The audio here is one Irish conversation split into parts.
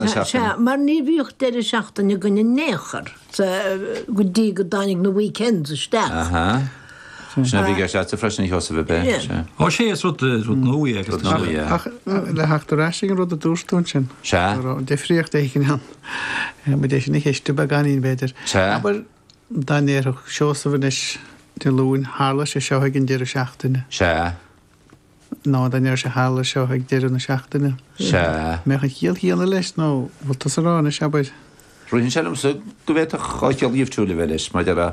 na seachtaine. Sea, mar ní bhíodh deireadh seachtaine againn in aon chor, go dtí go dtáinig na weekends isteach. Aha. Sin a bhí i gceist agatsa freisin, a Sheosaimh, ab ea? Sea. Ó sea, is rud, rud nua é agus Rud nua é. Ach le theacht ar ais ag an rud a dúirt tú ansin. Sea. Go raibh difríocht éigin ann. Muid é sin a cheistiú beagáinín, b'fhéidir. Sea. Abair dá ndéarfadh Seosamh anois Dé Luain, tharla sé seo ag an deireadh seachtaine. Sea. Nó dá ndéarfadh sé tharla seo ag deireadh na seachtaine. Sea. Mbeadh an chiall chéanna leis nó bhfuil tusa a rá anois, abair? Ritheann sé liomsa go bhféadfadh an chiall dhifriúil a bheith leis, mar a déarfá,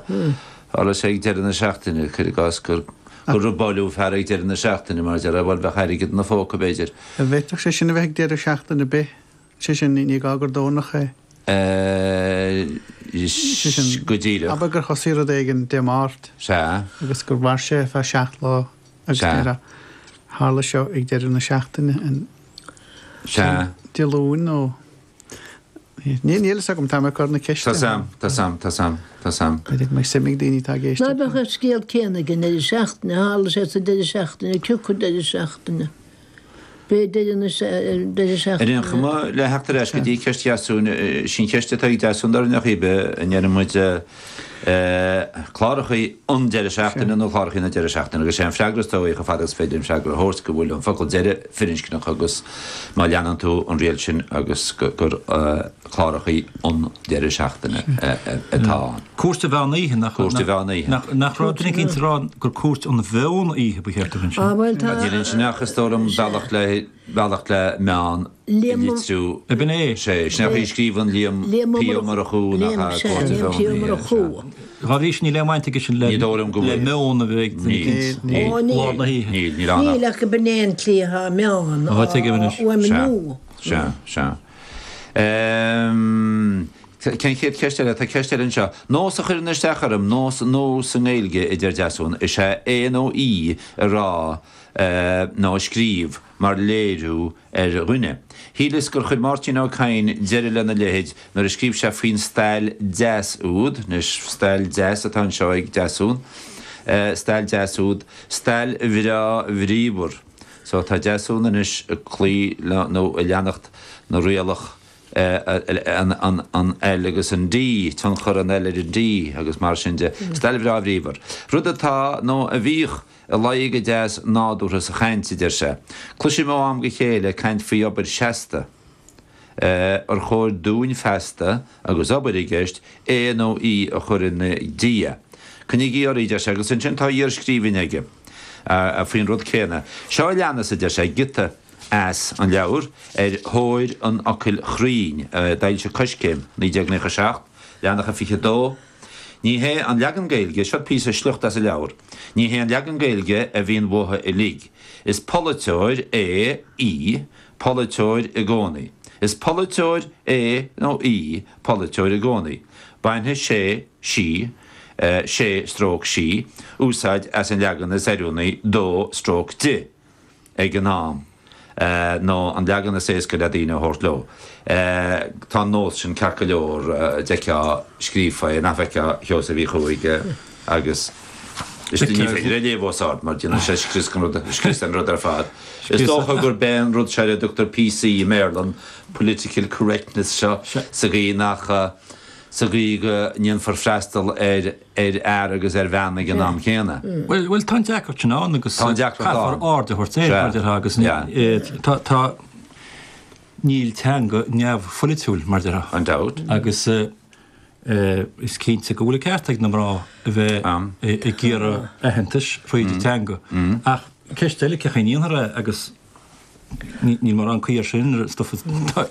tharla sé ag deireadh na seachtaine, cuir i gcás gur gur robáileadh fear ag deireadh na seachtaine, mar a déarfá, bhuel, bheadh airgead ina phóca, b'fhéidir. An bhféadfadh sé sin a bheith ag deireadh seachtaine ar bith? Sé sin, ní gá gur Domhnach é. Sé sin, Go díreach. abair gur thosaigh rud éigin Dé Máirt. Sea. Agus gur mhair sé ar feadh 7 lá agus Sea. déarfá, tharla seo ag deireadh na seachtaine, an Sea. Dé Luain nó. Níl fhios agam, tá mé ag cur na ceiste. Tá 's a'm, tá 's a'm, tá 's a'm, tá 's a'm. B'fhéidir go mbeidh suim ag daoine atá ag Ná éisteacht. beadh an scéal céanna ag an deireadh seachtaine, tharla sé sa deireadh seachtaine, cé acu deireadh seachtaine. B'é deireadh na deireadh Ar seachtaine. aon chuma, le theacht ar ais go dtí ceist Dheasúin, sí an cheist atá ag Deasún dar ndóigh ab ea, an ndeireann muid clárachaí an deireadh seachtaine nó clárachaí na deireadh seachtaine agus sé an freagra is dóigh chomh fada is féidir an freagra a thabhairt go bhfuil an focal deireadh firinscneach agus má leanann tú an riail sin agus gur clárachaí an deireadh seachtaine atá ann. Cúirt an mheán oíche, nach Cúirt an mheán oíche. Nach raibh duine éicint ag rá gur cúirt an mheon oíche ba cheart a bheith ansin? Ah bhuel tá. Níl ansin ach is dóigh liom bealach le bealach le meán a litriú. Ab in é? Sé, sin é an chaoi a scríobhann Liam P. Ó Murchú nach ea cúirt an mheon oíche, sea. Dá bhrí sin níl aon bhaint aige sin le le meon a bheith ag duine éicint lár na hoíche. Níl, níl ann ach. Níl ach gurb in é an tslí atá meán á fhuaimniú. Sea, sea, sea. Cén chéad cheist eile? Tá ceist eile anseo. Nós a chuireann isteach orm, nós nua sa nGaeilge, a deir Deasún, is ea é nó í a rá nó a scríobh mar léiriú ar dhuine. Shíleas gur chuir Máirtín Ó Cadhain deireadh lena leithéid nuair a scríobh sé faoin stail deas úd, anois stail deas atá anseo ag Deasún, stail deas úd, stail bhreá bhríomhar. So tá Deasún anois ag cloí nó ag leanacht na rialach an L agus an D, tionchar an L ar an D agus mar sin de. Stail bhreá bhríomhar. Rud atá, nó a bhíodh, i luí go deas nádúrtha sa chaint, a deir sé. Cloisim ó am go chéile caint faoi obair seasta. Ar chóir dúinn feasta, agus obair i gceist, é nó í a chur ina diaidh? Coinnígí oraibh, a deir sé, agus ansin tá iarscríbhinn aige faoin rud céanna. Seo a leanas, a deir sé, giota. as an leabhar Ar Thóir an Fhocail Chruinn, a d'fhoilsigh Coiscéim, 1997, leathanach a 22. Ní hé an leagan Gaeilge, seo píosa sliocht as an leabhar, ní hé an leagan Gaeilge a bhíonn uathu uilig. Is polaiteoir é, í, polaiteoir i gcónaí. Is polaiteoir é nó í polaiteoir i gcónaí. Bainfidh sé, sí, sé stroke sí, úsáid as an leagan is oiriúnaí dó stroke di. ag an am, nó an leagan is éasca le daoine a thabhairt leo. Tá an nós sin ceart go leor, d'fheicfeá scríofa é, nach bhfeicfeá, a Sheosaimh Uí Chuaig, agus is ní féidir é a léamh os ard mar déanann sé scrios den rud, scrios den rud ar fad. Is dócha gurb é an rud seo ar a dtugtar PC i mBéarla, an political correctness seo, sa gcaoi nach, sa gcaoi go ndéanfar freastal ar ar fhear agus ar bhean ag an am céanna. Bhuel, bhuel, tá an deacracht sin ann agus Tá an deacracht caithfear ann. aird a thabhairt air, mar a déarfá, agus tá, tá, níl teanga neamhpholaitiúil, mar a déarfá. Gan dabht. Agus is cinnte go bhfuil an ceart ag na mná a bheith ag iarraidh aitheantais fríd an teanga. Ach ceist eile, cén chaoi a ndéanfar é agus Níl mórán caoi air sin, ar an stuif a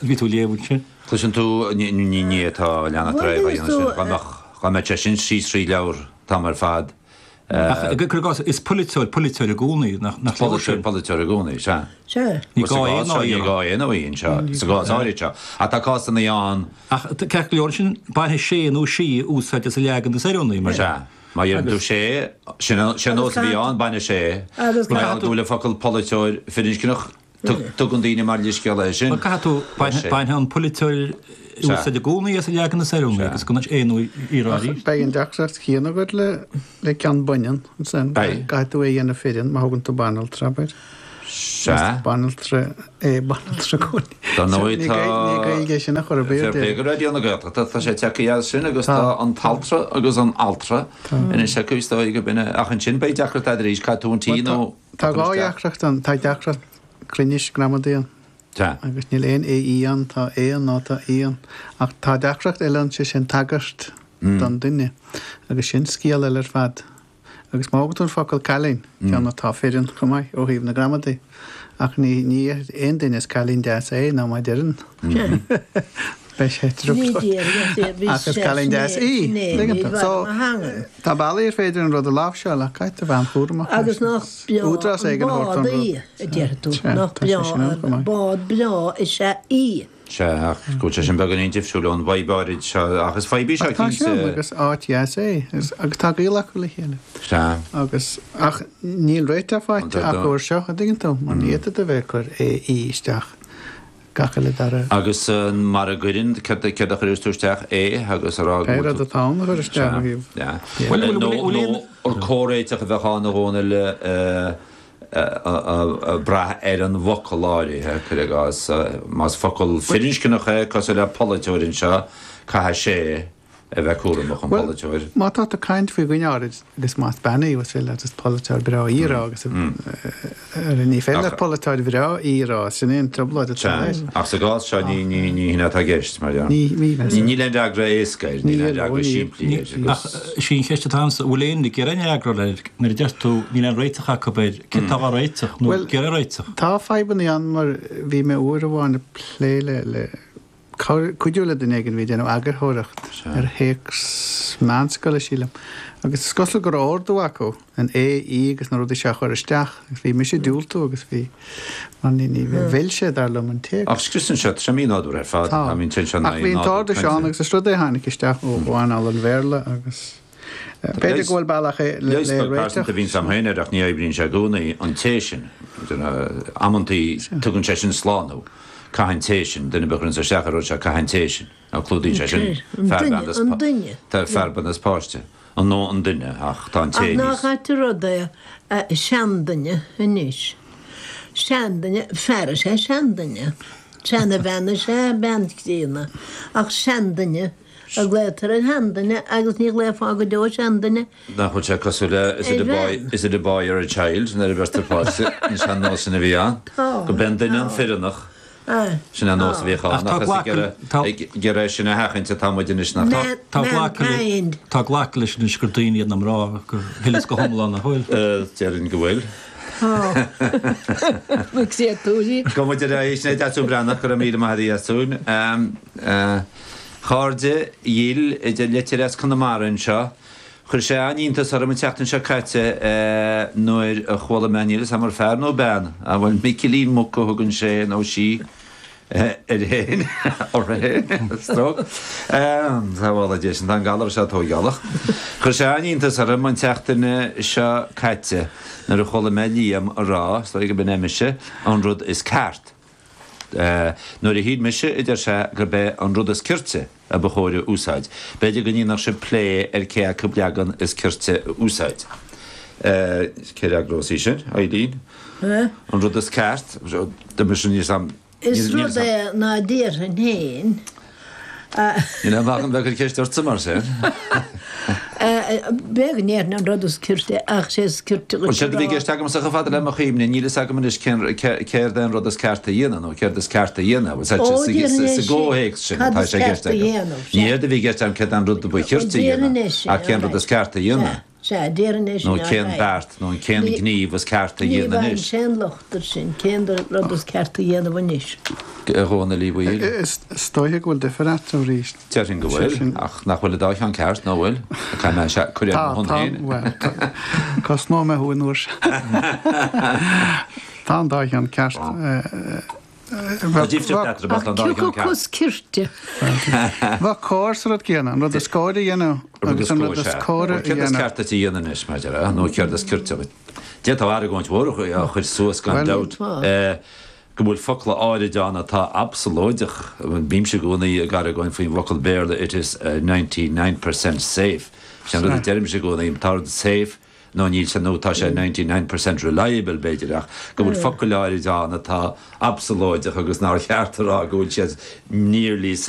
bhí tú a léamh ansin. Cloiseann tú, ní atá leanacht ar aghaidh á dhéanamh sin, dá mbeadh, dá mbeadh sé sin síos thríd leabhar an t-am ar fad. Ach cuir i gcás, is polaiteoir polaiteoir i gcónaí, nach leor sin? Polaiteoir polaiteoir i gcónaí, sea. Sea. Ní gá é nó í. Ní gá é nó í anseo, sa gcás áirid seo. Ach tá cásanna ann. Ach ceart go leor ansin, bainfidh sé nó sí úsáid as an leagan is oiriúnaí, mar. Sea. Má dheireann tú sé, sin an nós a bhí ann, bainfidh sé. Mar gheall go bhfuil an focal polaiteoir firinscneach, tugann daoine mar leithscéal é sin. Bhuel, caithfidh tú, bainfidh an polaiteoir úsáid i gcónaí as an leagan is oiriúnaí agus gan é nó í a rá arís. Beidh an deacracht chéanna agat le ceann baineann ansin. Beidh. Caithfidh tú é a dhéanamh fireann má thugann tú banaltra, abair. Sea. Is banaltra é banaltra i gcónaí. Dar ndóigh Ní tá. Ní Gaeilge é sin a chur ar bith Fair play go Raidió na Gaeltachta, tá sé tagtha as sin agus tá an t-altra agus an altra anois acu is dóigh go b'in é. Ach ansin beidh deacracht agat arís, caithfidh tú an T nó. Tá dhá dheacracht ann, tá deacracht cruinnis gramadaí ann. Sea. Agus níl aon AE ann, tá A ann nó tá E ann. Ach tá deacracht eile ann, sé sin tagairt don duine. Agus sin scéal eile ar fad. Agus má thógann tú an focal cailín, ceann atá fireann chomh maith ó thaobh na gramadaí, ach ní ní déarfaidh aon duine is cailín deas é nó má deireann beidh sé i dtrioblóid. Ach is cailín deas í. Tuigeann tú? So, tá bealaí ar féidir an rud a láimhseáil ach caithfidh tú bheith an-chúramach leis. Agus nach breá Údarás an éigin a thabhairt bád don í, rud. a deir tú. Sea, Nach tá sé breá sin ann chomh an maith. bád breá is ea í. Sea, ach go bhfuil sé sin beagáinín difriúil ón bhfadhb áirid seo, ach is fadhb í seo Ach tá sé ann cinnte. agus áit dheas é agus tá gaol acu le chéile. Sea. Agus, ach níl réiteach faighte acu air seo, an dtuigeann tú, mar ní fhéadfaidh tú a bheith ag cur AE isteach gach uile dara. Agus mara gcuireann, céard a chuireas tú isteach? A agus a rá go Pé bhfuil rud tú. atá ann a chur isteach ó thaobh. Sea. Bhuel, bhfuil, Nó, bhfuil nó aon. an comhréiteach a bheadh ann a Dhónaill, ag brath ar an bhfocal áirithe, cuir i gcás, más focal firinscneach é, cosúil le polaiteoir anseo, caithfidh sé a bheith cúramach, an Bhuel, polaiteoir. má tá tú ag caint faoi dhuine áirid agus más bean í, bhuel, is is polaiteoir breá í a rá agus ní féidir leat polaiteoir bhreá í a rá, sin é an trioblóid atá Sea, air. ach sa gcás seo ní ní hin atá i gceist, mar dhea. Ní, ní bheas. Níl aon fhreagra éasca air, níl aon fhreagra simplí air Ach agus. is í an cheist atá agamsa, bhfuil aon ag iarraidh aon fhreagra air nuair a deir tú níl aon réiteach acu air, céard atá á réiteach nó Bhuel, ag iarraidh réiteach? tá fadhbanna ann mar bhí mé uair amháin ag plé le, le cuidiú le duine éigin a bhí ag déanamh eagarthóireacht ar théacs meánscoile, sílim, agus is cosúil go raibh ordú acu an A, E agus na rudaí seo a chur isteach agus bhí mise ag diúltú agus bhí, mar ní, ní, mhill sé dar liom an téacs. Ach scrios anseo, tá sé mínádúrtha ar fad, Tá. I mean, téann sé in Ach bhí aghaidh an nádúr t-ordú seo ann cainte. agus is rud é a tháinig isteach ó earnáil an Bhéarla agus b'fhéidir go bhfuil bealach é le Leigheas beag pearsanta réiteach. a bhíonns a'm féin air ach ní oibríonn sé i gcónaí, an té sin. Amantaí tugann sé sin slán thú. Caith an té sin, duine ar bith a chuireanns isteach ar rud seo, caith an té sin. Nó clúdaíonn sé sin fear, bean is An duine. fear, bean is páiste. An nó an duine, ach tá an té Ach nach níos. ait an rud é seanduine anois. Seanduine, fear is ea seanduine. Seanabhean is ea bean chríonna. Ach seanduine a ghlaotar ar sheanduine agus ní ghlaofá go deo seanduine Nach bhfuil sé cosúil le is it a boy, is it a boy or a child nuair a bheirtear páiste, an sean-nós sin a bhí ann. Go b'é an duine an fireannach. Sin an nós a bhíodh ann ach is ag iarraidh sin a sheachaint atá muid anois nach Tá glactha tá glactha leis anois gur daoine iad na mná go huile is go hiomlán, nach bhfuil? Déarfainn go bhfuil. Na créatúirí. Gabhfaidh muid ar aghaidh. Sin é Deasún Breathnach, go raibh míle maith agat a Dheasúin. A chairde dhil, idir litir as Conamara anseo. Chuir sé an-iontas orm an tseachtain seo caite nuair a chuala mé, níl 'fhios a'm ar fear nó bean, ah bhuel Micilín Muc a thugann sé nó sí air fhéin, uirthi fhéin, is dóigh. Sábhála Dia sinn, tá an galar seo tóigeálach. Chuir sé an-iontas orm an tseachtain seo caite nuair a chuala mé Liam a rá, is dóigh go b'in é mise, an rud is ceart. Nuair a shíl mise, a deir sé, gurb é an rud is cirte a ba chóir a úsáid. B'fhéidir go ndéanfadh sibh plé ar cé acu leagan is cirte a úsáid. Cé fhreagrós í sin? Eileen? An rud is ceart? Mise níl 'fhios a'm. Is rud é ná déarfainn féin. Níl aon mhaith agam bheith ag cur ceist ortsa mar sin. B'fhéidir go ndéarfainn an rud is cirte ach sé is cirte Bhuel, dhuit a séard a bhí i rá. gceist agamsa chomh fada le mo chuimhne, níl fhios agam anois cén, céard é an rud is ceart a dhéanamh nó céard is ceart a dhéanamh. Bhuel, sa, Ó, sa, déarfainn é sa sin. gcomhthéacs sin Cad atá is sé i ceart gceist a agam. dhéanamh, Ní sea. éard a bhí i gceist agam céard é an rud a ba Bhuel, chirte a déarfainn dhéanamh é sin, ach cén rud alright. is ceart a dhéanamh. Sea. Sea, déarfainn é sin, Nó cén alright. beart nó an cén Ní, gníomh is ceart a ní dhéanamh bhfaighim anois. sé an locht air sin, cén rud is ceart a dhéanamh anois. A Dhónaill Uí Bhaoill. Is dóiche go bhfuil difear eatarthu arís. Déarfainn go bhfuil, ach nach bhfuil an dá cheann ceart, nó bhfuil? Caithfidh mé sea, cur ar Tá, mo shon tá, féin. bhuel, cosnóidh mé thú an uair seo. Tá an dá cheann ceart. Tá difríocht eatarthu, ach tá an dá Ach cheann cioca ceart. is cirte? Bheadh cóir sa rud céanna, an rud is cóir a dhéanamh Rud agus is an cóir, rud is sea. córa Bhuel, a céard is dhéanamh. ceart duit a dhéanamh anois, mar a déarfá, nó céard is cirte duit? D'fhéadfá argóint mhór a chur suas gan Bhuel, dabht. go bhfuil focla áirid ann atá absalóideach. Bímse i gcónaí ag argóint faoin bhfocal Béarla it is 99 per cent safe. Sin an rud a deirimse i gcónaí, tá rud safe. nó níl sé, nó tá sé 99% reliable b'fhéidir, ach go bhfuil focail áirid ann atá absalóideach agus nár cheart a rá go bhfuil siad nearly safe.